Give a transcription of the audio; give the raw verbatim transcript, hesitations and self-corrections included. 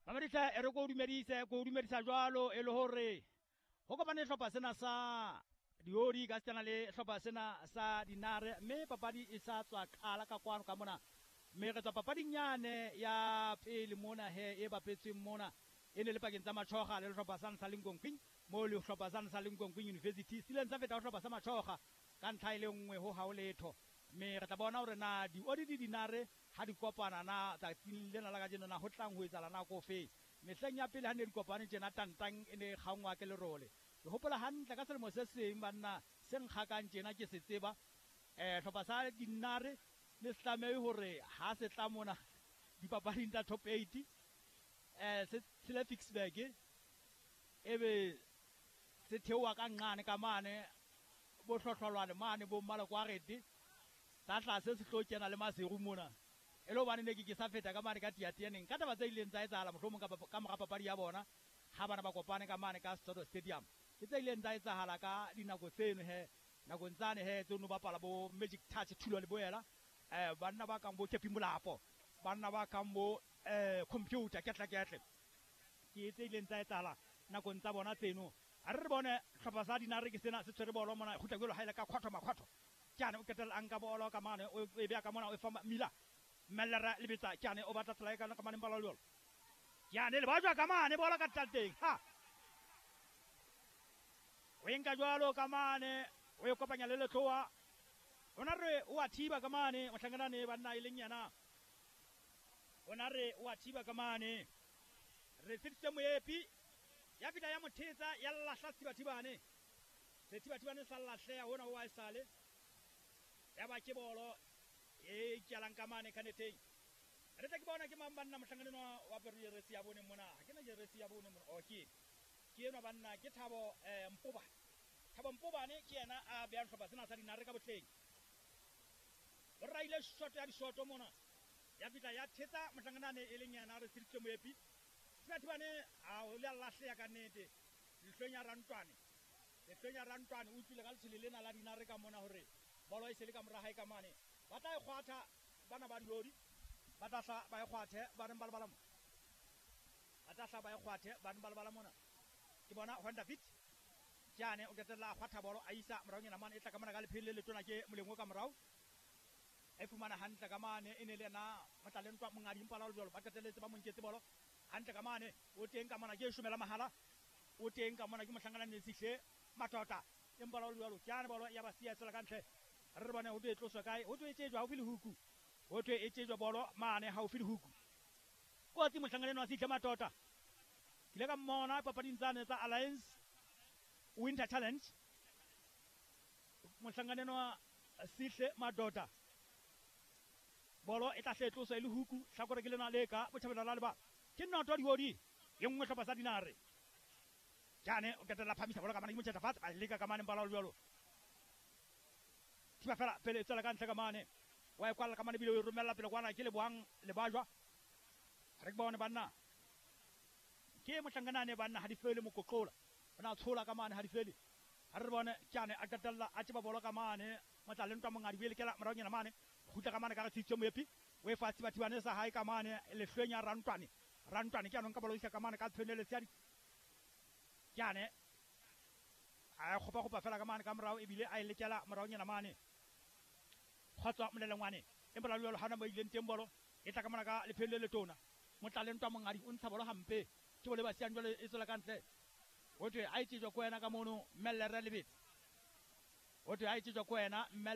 Mamedisa e re ko dumedise ko dumedisa jwalo e le hore ho kopane hlopha sena sa Diodi ka setsana le hlopha sena sa Dinare mme papadi e sa tswa qala ka kwano ka mona mme re tswa papading yane ya pele mona he e bapetsweng mona e ne le pakeng tsa Machoga le hlopha sa sa Linkonkwing mo le hlopha sa sa Linkonkwing University sileng sa feta ho hlopha sa Machoga ka ntlha e le nngwe ho hao letho mme re tla bona hore na Diodi di Dinare ha di kopana na tsatsing lena la kajeno na ho tlang ho etsahala nako fe mehleng ya pele ha ne di kopane tjena tantang e ne kgangwa ke lerole ke hopola hantle ka selemo se seng banna se nkgakang tjena ke se tseba eh hlopha sa Dinare le se tlamehe hore ha se tla mona dipapading tsa top eight eh se tshele Ficksburg ebe se theoha ka nqane ka mane bo hlohlolwane mane bo Malokwarete tsa tlase se tlo kena le Maseru mona e le hobane ne ke ke sa feta ka mane ka tiatianeng ka taba tse ileng tsa etsahala mohlomong ka ka mora papadi ya bona ha bana ba kopane ka mane ka Soto Stadium ke tse ileng tsa etsahala ka dinako tseno he nakong tsane he tse no bapala bo Magic Touch Thulo le boela eh banna ba kang bo Kepi Molapo banna ba kang bo eh computer ketla ketle ke tse ileng tsa etsahala nakong tsa bona tseno a re re bone hlopha sa Dinare ke sena se tshwere bolo mona kgutla jwalo ha ile ka khotho makhotho kyane o ketela a nka bolo ka mane o e beya ka mona o e fa Mila Mellera lebetsa kyane o batla tsela e ka ka mane mpala jwalo kyane le bajwa ka mane bolo ka tlateng ha o enka jwalo ka mane o e kopanya le letloa ona re o a thiba ka mane mohlanganane banna e leng yena ona re o a thiba ka mane re fitse moepi ya fita ya mothetsa ya lahla thibathibane se thibathibane sa lahleha hona ho a sale ya ba ke bolo e kelang ka mane ka neteng re tla ke bona ke mang banna mohlanganeng wa apere jeresi ya bone mona ha ke na jeresi ya bone mona o ke ke enwa banna ke Thabo eh Mpobane Thabo Mpobane ke yena a beang hlopha sena sa Dinare ka botleng o raile shot ya dishoto mona ya fihla ya thetsa mohlanganane e leng yena re tsiditse moepi thibathibane a o le lahleha ka nnete lehlong ya rantwane lehlong ya rantwane o utlwile ka letshwele lena la Dinare ka mona hore bolo e se le ka mora hae ka mane ba tla e kgwatha bana ba Diodi ba tla hla ba e kgwathe ba reng ba lebala mona ba tla hla ba e kgwathe ba reng ba lebala mona ke bona Honda Fit kyane o qetella a kgwatha bolo a isa moraonyana mane e tla ka mona ka lephele le letona ke moleng o ka morao e fumana hantle ka mane e ne le yena Motlalentwa Mongadi mpala jwalo ba qetelletse ba mo nketse bolo hantle ka mane o teng ka mona ke shomela mahala o teng ka mona ke mohlangana ne sihle matota empa la jwalo kyane bolo ya ba siya tsela ka ntle re bone ho twe tloswa kae ho twe e tsejwa haufi le huku ho twe e tsejwa bolo mane haufi le huku kotsi mohlangana wa sihle matota ke ile ka mmona papading tsane tsa Alliance Winter Challenge mohlangana wa sihle matota bolo e tla hle tloswa e le huku hlakore ke lena le ka botjhabela la leba ke noto Diodi e nngwe hlopha sa Dinare kyane o qetella phamisa bolo ka mane ke motjhetsa fatshe ba leka ka mane mpala jwalo thiba fela pele e tswela ka ntle ka mane wa e kwalla ka mane bile o e romella pele kwana ke Lebohang Lebajwa re ke bone banna ke mohlanganane banna ha di fele mokoqola ona tshola ka mane ha di fele ha re bone kyane a qetella a tseba bolo ka mane Motlalentwa Mongadi o e lekela moraonyana mane kgutla ka mane ka re tshitse moepi o e fa thibathibane sa hae ka mane lehlweng ya rantwane rantwane ke anong ka bolo isa ka mane ka tshwenele seadi kyane a kgopa kgopa fela ka mane ka morao ebile a e lekela moraonyana mane kgotsa molelengwane empa la jwalo hana mo ileng teng bolo e tla ka mona ka lephele le letona Motlalentwa Mongadi o ntsha bolo hampe ke bolo e ba siyang jwale e tswela ka ntle ho thwe a e tsejwa ko wena ka mono Mellere Lebetse ho thwe a e tsejwa ko wena Mmelle